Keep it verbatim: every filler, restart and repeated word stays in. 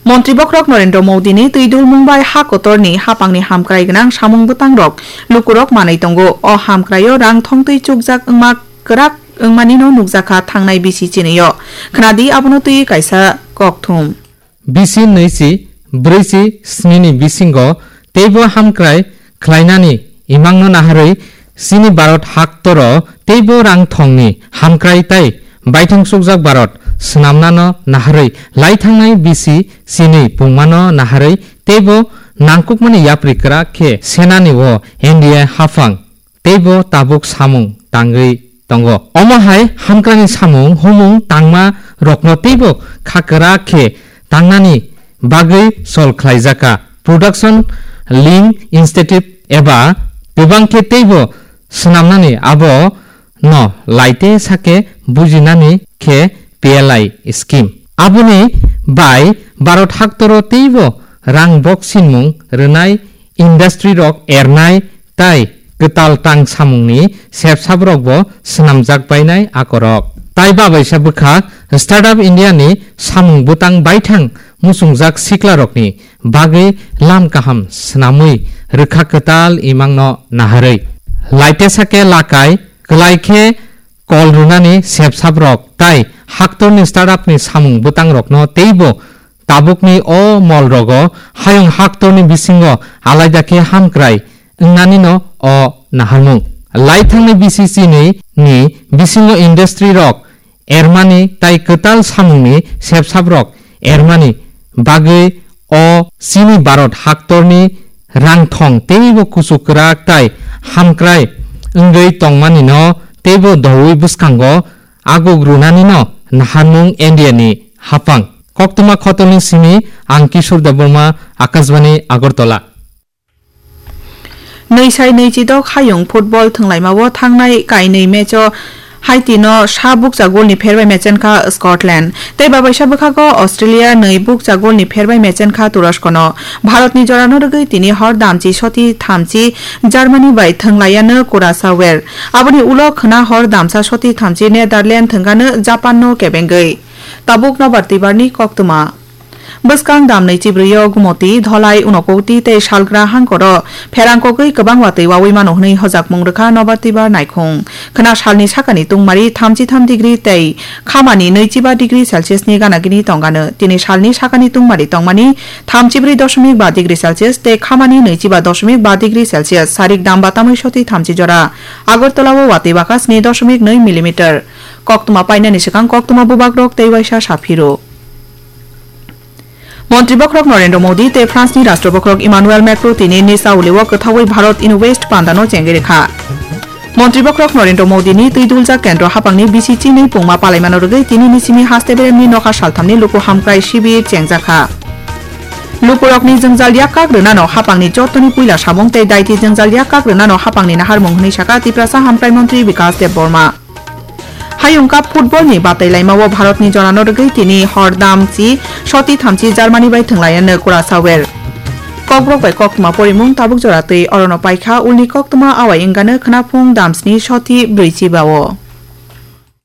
Montri bokhorok Narendra Modi ni twi dulmung bai ha kotor ni hapang ni hamkrai gwnang samung bwtang rok lukurok manwi tongo. O hamkrai o rang thongtwi chukjak wngma kwrak wngmani no nukjakha thangnai bisi chini o. Khwnadi abono twi kaisa kokthum. Bisi nwi si brwi si sni ni bisingo teibo hamkrai khlainani imangno naharwi chini Bharat haktoro teibo rang thongni hamkrai tai baithang sukjak Bharat swnamnano naharwi lai thangnai bisi chini pungmano naharwi teibo nangkukmani yapri kwrak khe senani o N D A hafang teibo tabuk samung tangwi tongo. Omo hai hamkrani samung humung tangma rokno teibo kha kwrak khe tangnani bagwi sol khlaijaka. Production link incentive eba kwbang khe teibo swnamnani abo no laite sake bujinani khe P L I scheme. Aboni bai Bharat haktoro teibo rang boksinmung rwnai industry rok ernai tai kwtal tang samungni sepsabrokbo swnamjak bainai akorok. Tai babaisa bwkha Startup India ni samung bwtang baithang muchungjak siklarokni bagwi lam kaham swnamwi rwkha kwtal imangno naharwi. Laitesa khe lakai kwlai khe kol rwnani sepsabrok tai haktorni startup ni samung bwtangrokno teibo tabukni o mol rogo hayung haktorni bisingo alaida khe hamkrai wngnanino o naharmung. Lai thangni B C C ni, ni bisingo industry rok ermani tai kwtal samungni sepsabrok ermani bagwi o chini Bharat haktorni rangthong teibo kuchuk kwrak tai hamkrai wngwi tongmanino teibo doui bwskango aguk rwnanino naharmung India ni hapang. Koktwma khotolni simi ang Kishore Debbarma, Akashbani Agartala. Nwi sai nwi chidok hayung football thwnglaimao thangnai kainwi match o Haiti no sa bukcha goal ni pherbai mechenkha Scotland. Tei babaisa bwkhago Australia nwi bukcha goal ni pherbai mechenkha Turosko no. Bharat ni jora no rwgwi tini hor damchi soti thamchi Germany bai thwnglaiya no Curaçao. Aboni ulo khwna hor damsa soti thamchi Netherland thwngano Japan no kebengwi. Tabuk nobar twibar ni koktwma. Bwskang damnwi chibrwi o Gumoti, Dholai, Unokoti tei Salgra hangkoro pherang kogwi kwbang watwi wawi mano hwnwi hojakmung rwkha nobar twibar naikhung. Khwna salni sakani tungmari thamchi tham degree tei khamani nwichiba degree Celsius ni gana gini tongano. Tini salni sakani tungmari tongmani thamchibrwi doshomik ba degree Celsius tei khamani nwichiba doshomik ba degree Celsius. Sarik dam batamwi soti thamchi jora. Agartala o watwi baka sni doshomik nwi millimeter. Koktwma painani swkang koktwma bubagrok tei waisa saphiro. Montri bokhorok Narendra Modi tei France ni Rashtra bokhorok Emmanuel Macron tini Nice Auli o kwthaui Bharat Invest panda no chengwi rwkha. Montri bokhorok Narendra Modi ni twi duljak kendro hapang ni bisi chini pungma palaimano rwgwi tini ni simi haste berem ni nokha saltham ni luku hamkrai shibir chengjakha. Lukurok ni jwngjal yak kak rwnano hapang ni joto ni puila samung tei daiti jwngjal yak kak rwnano hapang ni naharmung hwnwi saka Tiprasa Hamkrai Montri Bikas Debbarma. Hayung Cup football ni batai laima o Bharat ni jora no rwgwi tini hor damchi soti thamchi Germany bai thwnglaiyano Curaçao. Kokborok bai koktwma porimung tabuk jora twi orono paikha ulni koktwma awai wngano khwnaphung damsni soti brwichiba o.